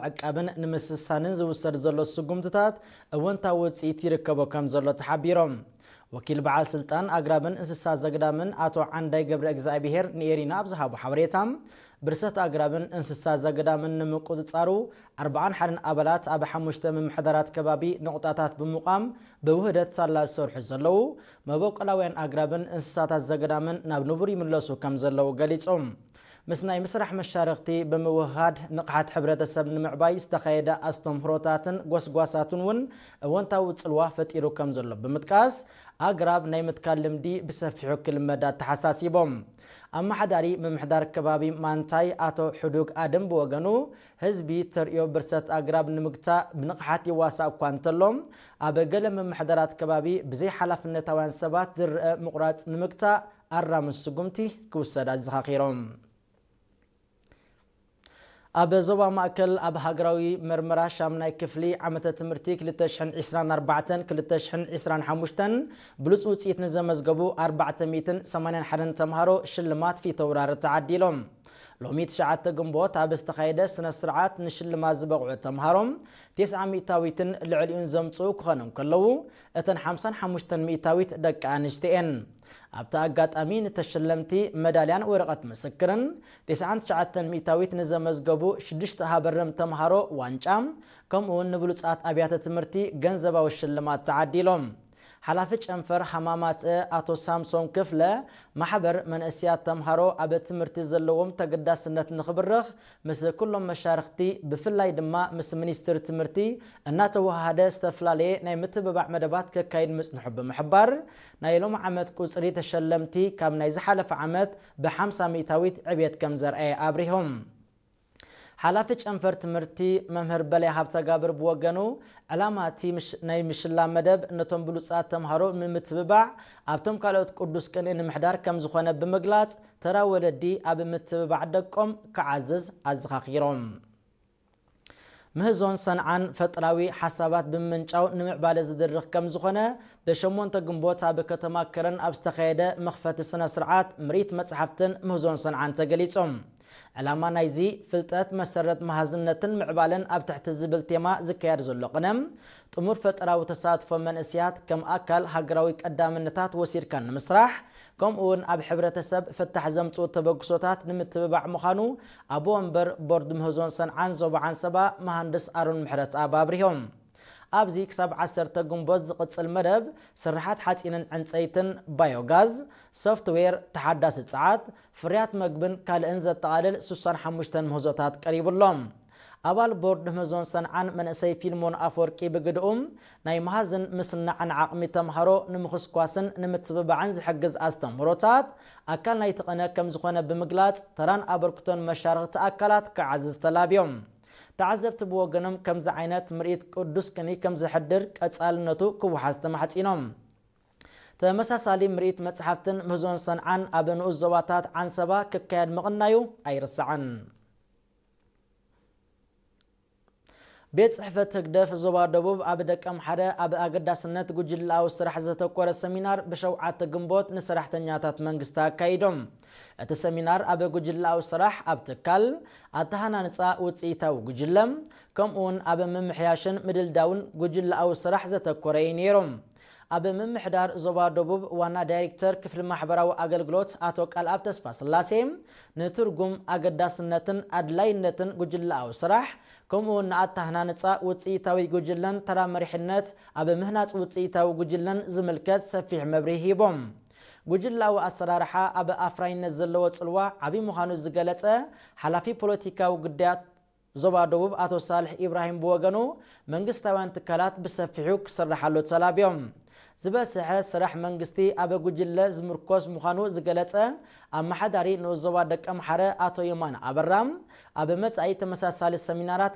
ንምዕቃብን ንምስሳንን ዝውሰድ ዘሎ ስጉምትታት እወንታዊ ውፅኢት ይርከቦ ከም ዘሎ ተሓቢሮም። ወኪል በዓል ስልጣን ኣግራብን እንስሳ ዘግዳምን ኣቶ ዓንዳይ ገብረ እግዚኣብሔር ንኤሪና ኣብ ዝሃቦ ሓበሬታ፣ ብርሰት ኣግራብን እንስሳ ዘገዳምን ንምቁጽጻሩ ኣርብዓን ሓደን ኣባላት ኣብ ሓሙሽተ ምምሕዳራት ከባቢ ነቑጣታት ብምቋም ብውህደት ሳላ ዝሰርሑ ዘለዉ መበቆላውያን ኣግራብን እንስሳታት ዘገዳምን ናብ ንቡር ይምለሱ ከም ዘለዉ ገሊጾም። ምስ ናይ ምስራሕ መሻርኽቲ ብምውህሃድ ንቕሓት ሕብረተሰብ ንምዕባይ ዝተኻየደ ኣስተምህሮታትን ጎስጓሳትን እውን እወንታዊ ጽልዋ ፈጢሩ ከም ዘሎ ብምጥቃስ፣ ኣግራብ ናይ ምትካል ልምዲ ብሰፊሑ ክልመድ ኣተሓሳሲቦም። ኣመሓዳሪ ምምሕዳር ከባቢ ማንታይ ኣቶ ሕዱግ ኣደም ብወገኑ፣ ህዝቢ ተርእዮ ብርሰት ኣግራብ ንምግታእ ብንቕሓት ይዋሳእ እኳ እንተሎ፣ ኣብ ገለ ምምሕዳራት ከባቢ ብዘይ ሓላፍነታውያን ሰባት ዝረአ ምቑራጽ ንምግታእ ኣራሚ ስጉምቲ ክውሰድ ኣዘኻኺሮም። ኣብ ዞባ ማእከል ኣብ ሃገራዊ መርመራ ሻምናይ ክፍሊ ዓመተ ትምህርቲ ክልተ ሽሕን ዕስራን ኣርባዕተን ክልተ ሽሕን ዕስራን ሓሙሽተን ብሉጽ ውጽኢት ንዘመዝገቡ ኣርባዕተ ሚእትን ሰማንያን ሓደን ተምሃሮ ሽልማት ፊተውራሪ ተዓዲሎም። ሎሚ ትሽዓተ ግንቦት ኣብ ዝተኻየደ ስነ ስርዓት ንሽልማት ዝበቕዑ ተምሃሮ ተስዓ ሚእታዊትን ልዕሊኡን ዘምጽኡ ክኾኑ እንከለዉ፣ እተን ሓምሳን ሓሙሽተን ሚእታዊት ደቂ ኣንስትዮ እየን። ኣብቲ ኣጋጣሚ ንተሸለምቲ መዳልያን ወረቐት ምስክርን፣ ተስዓን ትሽዓተን ሚእታዊት ንዘመዝገቡ ሽዱሽተ ሃበርም ተምሃሮ ዋንጫ፣ ከምኡውን ንብሉጻት ኣብያተ ትምህርቲ ገንዘባዊ ሽልማት ተዓዲሎም። ሓላፊ ጨንፈር ሃማማት ኣቶ ሳምሶን ክፍለ፣ ማሕበር መንእስያት ተምሃሮ ኣብ ትምህርቲ ዘለዎም ተገዳስነት ንኽብርኽ ምስ ኩሎም መሻርኽቲ ብፍላይ ድማ ምስ ሚኒስትሪ ትምህርቲ እናተወሃሃደ ዝተፈላለየ ናይ ምትብባዕ መደባት ከካይድ ምጽንሑ ብምሕባር፣ ናይ ሎም ዓመት ቁጽሪ ተሸለምቲ ካብ ናይ ዝሓለፈ ዓመት ብሓምሳ ሚእታዊት ዕብየት ከም ዘርኣየ ኣብሪሆም። ሓላፊ ጨንፈር ትምህርቲ መምህር በላይ ሃብተጋብር ብወገኑ፣ ዕላማ እቲ ናይ ምሽላ መደብ ነቶም ብሉጻት ተምሃሮ ንምትብባዕ ኣብቶም ካልኦት ቅዱስ ቅንኢ ንምሕዳር ከም ዝኾነ ብምግላጽ፣ ተራ ወለዲ ኣብ ምትብባዕ ደቆም ክዓዝዝ ኣዘኻኺሮም። ምህዞን ሰንዓን ፈጠራዊ ሓሳባት ብምምንጫው ንምዕባለ ዝድርኽ ከም ዝኾነ ብሸሞንተ ግንቦት ኣብ ከተማ ከረን ኣብ ዝተኻየደ መኽፈቲ ስነ ስርዓት ምርኢት መጽሓፍትን ምህዞን ሰንዓን ተገሊጾም። ዕላማ ናይዚ ፍልጠት መሰረት መሃዝነትን ምዕባለን ኣብ ትሕቲ ዝብል ቴማ ዝካየድ ዘሎ ቅነ ጥሙር ፈጠራዊ ተሳትፎ መንእስያት ከም ኣካል ሃገራዊ ቀዳምነታት ወሲድካ ንምስራሕ ከምኡውን ኣብ ሕብረተሰብ ፍታሕ ዘምጽኡ ተበግሶታት ንምትብባዕ ምዃኑ ኣቦ ወንበር ቦርድ ምህዞን ሰንዓን ዞባ ዓንሰባ መሃንድስ ኣሮን ምሕረትኣብ ኣብሪሆም። ኣብዚ ክሳብ ዓሰርተ ግንቦት ዝቕጽል መደብ ስርሓት ሓጺንን ዕንጸይትን፣ ባዮጋዝ፣ ሶፍትዌር፣ ተሓዳሲ ጸዓት፣ ፍርያት መግብን ካልእን ዘጠቓልል ስሳን ሓሙሽተን ምህዞታት ቀሪቡሎም። ኣባል ቦርድ ምህዞን ሰንዓን መንእሰይ ፊልሞን ኣፈወርቂ ብግድኡ፣ ናይ መሃዝን ምስናዕን ዓቕሚ ተምሃሮ ንምኽስኳስን ንምትብባዕን ዝሕግዝ ኣስተምህሮታት ኣካል ናይቲ ቅነ ከም ዝኾነ ብምግላጽ፣ ተራን ኣበርክቶን መሻርኽቲ ኣካላት ክዓዝዝ ተላብዮም። ተዓዘብቲ ብወገኖም ከምዚ ዓይነት ምርኢት ቅዱስ ቅኒ ከም ዘሕድር ቀጻልነቱ ክወሓዝ ተማሕጺኖም። ተመሳሳሊ ምርኢት መጽሓፍትን ምህዞን ሰንዓን ኣብ ንኡስ ዞባታት ዓንሰባ ክካየድ ምቕናዩ ኣይርሳዕን። ቤት ጽሕፈት ህግደፍ ዞባ ደቡብ ኣብ ደቀምሓረ ኣብ ኣገዳስነት ጉጅለኣዊ ስራሕ ዘተኮረ ሰሚናር ብሸውዓተ ግንቦት ንሰራሕተኛታት መንግስቲ ኣካይዶም። እቲ ሰሚናር ኣብ ጉጅለኣዊ ስራሕ ኣብ ትካል፣ ኣተሃናንጻ ውጽኢታዊ ጉጅለ፣ ከምኡውን ኣብ ምምሕያሽን ምድልዳውን ጉጅለኣዊ ስራሕ ዘተኮረ እዩ ነይሩ። ኣብ ምምሕዳር ዞባ ደቡብ ዋና ዳይሬክተር ክፍሊ ማሕበራዊ ኣገልግሎት ኣቶ ቃልኣብ ተስፋስላሴ፣ ንትርጉም፣ ኣገዳስነትን ኣድላይነትን ጉጅለኣዊ ስራሕ፣ ከምኡውን ንኣተሃናንጻ ውጽኢታዊ ጉጅለን ተራ መሪሕነት ኣብ ምህናጽ ውጽኢታዊ ጉጅለን ዝምልከት ሰፊሕ መብርሂ ሂቦም። ጉጅለኣዊ ኣሰራርሓ ኣብ ኣፍራይነት ዘለዎ ጽልዋ ዓቢ ምዃኑ ዝገለጸ ሓላፊ ፖለቲካዊ ጉዳያት ዞባ ደቡብ ኣቶ ሳልሕ ኢብራሂም ብወገኑ፣ መንግስታውያን ትካላት ብሰፊሑ ክስርሓሉ ተላብዮም። ዝበስሐ ስራሕ መንግስቲ ኣብ ጉጅለ ዝምርኮስ ምዃኑ ዝገለጸ ኣመሓዳሪ ንኡስ ዞባ ደቀምሓረ ኣቶ የማነ ኣበራ፣ ኣብ መጻኢ ተመሳሳሊ ሰሚናራት